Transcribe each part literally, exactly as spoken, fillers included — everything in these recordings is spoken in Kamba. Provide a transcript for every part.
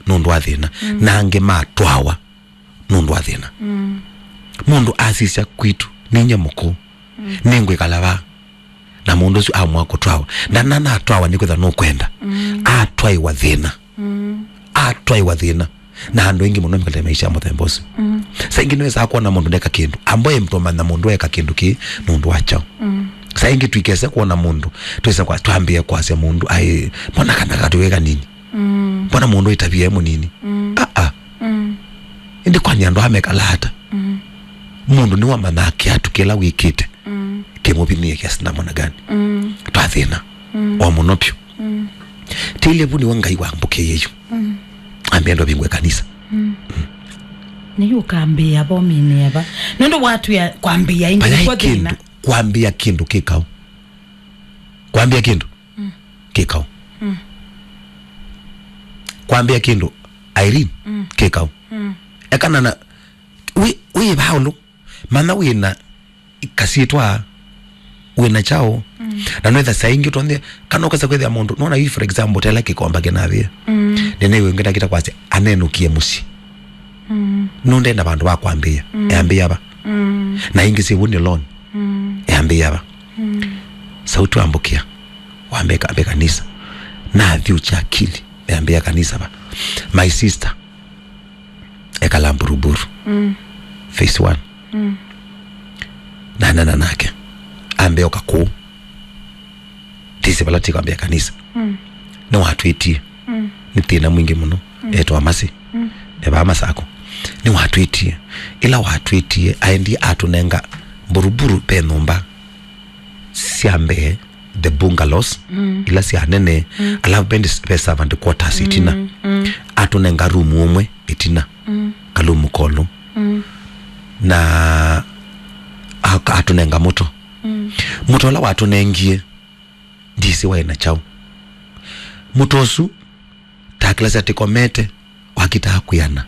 nũndũ wa thĩna. Mm. Na angĩ matwawa nũndũ wa thĩna. Mm. Mũndũ asisya kwitũ, "Ninyie mũkũũ, mm, nĩngwĩkala vaa." Na mũndũ ũsu amũa kũtwawa. Ndananatwawa nĩkwĩthwa nũkwenda. Mm. Atwaĩwa thĩna. Mm. Atwaĩwa thĩna. Na andũ aingĩ mũno mekatĩte maisha ya mũthemba ũsu. Mm. Saa ingĩ nĩwesaa kuona mũndũ ndeka kĩndũ. Amboe mtũmanya mũndũ eka kĩndũ kĩĩ nũndũ wa kyaũ. Mm. Saa ingĩ twikese kuona mũndũ, twĩsa kwa, twambĩe kwasya mũndũ, "Ai, mbona kana katũĩ kanini? Mm. Mbona mũndũ ĩtavia e mũnini?" Mm. Ah, ah. Mm. Ĩndĩ kwani andũ amekala ata? Mm. Mũndũ nĩwamanyaa kĩatũ kĩla wĩkĩte. Mm. Kĩmũvinie kiasi namna gani? Mm. Twa thĩna. Mm. O mũno vyũ. Mm. Tĩile vu nĩwe Ngai wambũkĩie yu. Mm. Ambĩa andũ avingũe kanisa. Mm. Nĩyu ũkambĩĩa vominĩ eva. Nũndũ watwĩa kwambĩĩa ĩngĩ nĩkw'o thĩna. Kwambĩĩa kĩndũ kĩkaũ. Kwambĩĩa kĩndũ. Mm. Kĩkaũ. Mm. Kwambĩĩa kĩndũ, Irene, mm, kĩkaũ. Mm. Ekana na, wĩ, wĩ vaũlũ. Manya wĩna kasyĩtwa, wĩna kyaũ. Mm. Na nwetha saa ingĩ ũtonya, kana ũkasa kwĩthĩa mũndũ, nona yu, for example, tela kĩkomba kĩnavĩa. Mm. Nene wĩ ngenda kita kwasya, anenũkie mũsyĩ. Mm. Nũndenda vandũ va kwambĩĩa, mm, eambĩĩa va? Mm. Na ingĩ syĩw'o nĩ loan. Mm. Eambĩĩa va? Mm. Sauti wambũkĩa, wambeka, ambeka kanisa. Na thiũ cha akili, eambĩĩa kanisa va? My sister, ekala Mburuburu. Mm. Phase one. Mm. Nanena nake. Ambe oka kũu. Tisi vala tikwambia kanisa. Mm. Nĩwatwĩtie. Mm. Nĩ thĩna mwingĩ mũno. Mm. Etwa Masi. Mm. Evaa Masako. Nĩwatwĩtie. Ĩla watwĩtie, aendie atũnenga Mburuburu ve nyũmba sya mbee, the bungalows, mm, ila sya nene, mm, alafu ve, ve servant quarters itina. Mm, mm. Atũnenga room ũmwe itina. Mm. Kalumu kolu. Mm. Na aka-, atũnenga mũto. Mm. Mũto ũla watũnengie, ndisi waĩ na kyaũ. Mũto ũsu, takĩlasya tĩkomete, wakitaa kwĩana.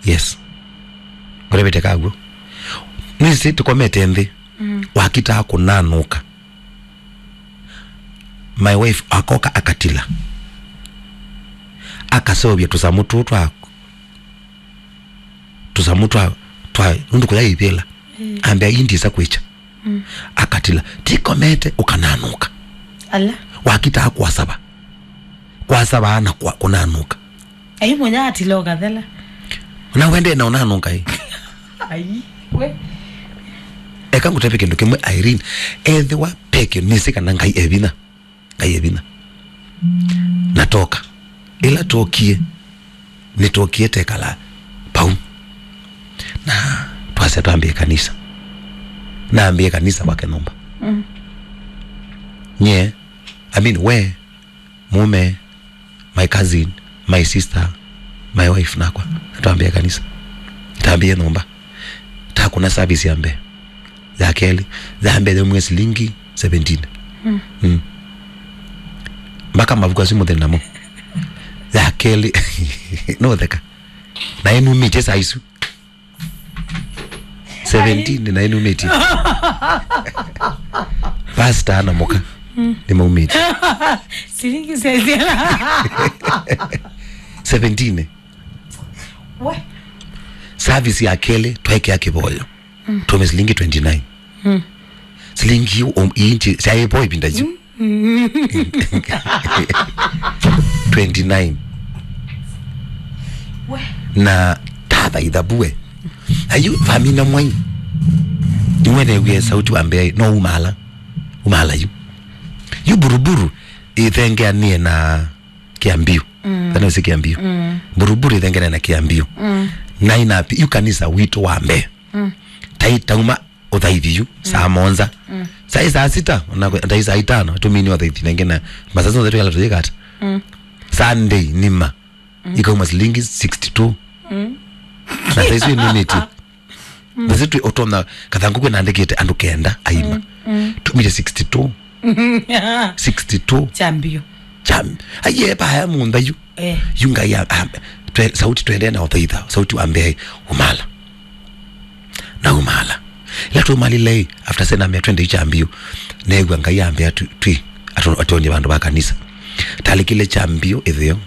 Yes. Ngũtavĩte kaw'o. Nĩsĩ tũkomete nthĩ. Mm. Wakitaa kũnanũka. My wife akoka akatila. Akaseũvya tũsamũ tũũ twa, tũsamũ twa, twa, nũndũ kũya ivĩla. Mm. Ambĩa, "Ii ndisa kwĩkya." Mm. Akatila, "Tikomete, ũkananũka." Ala. Wakitaa kwasava. Kwasava na kwa, kũnanũka. Ai, mũnya atila ũkathela. Na wende na ũnanũka ĩ. Ai, we. Eka ngũtavye kĩndũ kĩmwe, Irene. Ethĩwa peke nĩsĩ kana Ngai e vinya. Ngai e vinya. Na toka. Ĩla tokie, nĩtokie tekala pau. Na twasya twambie kanisa. Nambie kanisa kwake nyũmba. Mm. Nye, I mean, we, mũũme, my cousin, my sister, my wife nakwa. Na twambie kanisa. Tambie nyũmba. Takũna service ya mbee. Ya kelĩ, ya mbee yaumie silingi seventeen. Mm. Mm. Mpaka mavuku asu mũthĩ namo. Ya kelĩ, no theka. Na ĩnumĩtye saa isu. Seventeen na ĩnumĩtye. Pastor na mũka. Mm. Nĩmaumĩtye. Silingi sezela. Seventeen. We. Service ya kelĩ, twaekea kĩvoyo. Mm. Tume silingi twenty-nine. Mm. Silingi um, inchi, syaĩ po ĩvinda yu. Mm. Twenty-nine. We. Na tatha ithabu we. Ayu, vamina mwai. Nĩwenewie sauti wa mbee, no umala. Umala yu. Yu Buruburu, ĩthengeanĩe na Kĩambio. Mm. Kana ũsĩ Kĩambio. Mm. Buruburu ĩthengeanĩe na Kĩambio. Mm. Na inapi, yu kanisa witũ wa mbee. Mm. Tai tauma ũthaithi yu, saa mũonza. Mm. Saa, saa sita, ona kwe-, tai saa itano, tũmini ũthaithi nengĩ na masaa onthe twĩkala tũyĩkata. Mm. Sunday nima, mm, ikauma silingi sixty-two. Mm. Na saa isu ĩnumĩtye. Mm. Na sisi ũtona kathangũ kwĩ naandĩkĩte andũ kenda aima. Mm, mm. Tumire sixty-two. Sixty-two. Chambio. Cham-, aiye, paya mũnda yu. Eh. Yu Ngai a-, a-, twe-, sauti twendee na ũthaitha, sauti wa mbee, umala. Na umala. Ĩla tumalile, after sena mea twende Chambio, neew'a Ngai ambĩa twi, twi, atu-, atuonie vandũ va kanisa. Talikile Chambio ĩtheo,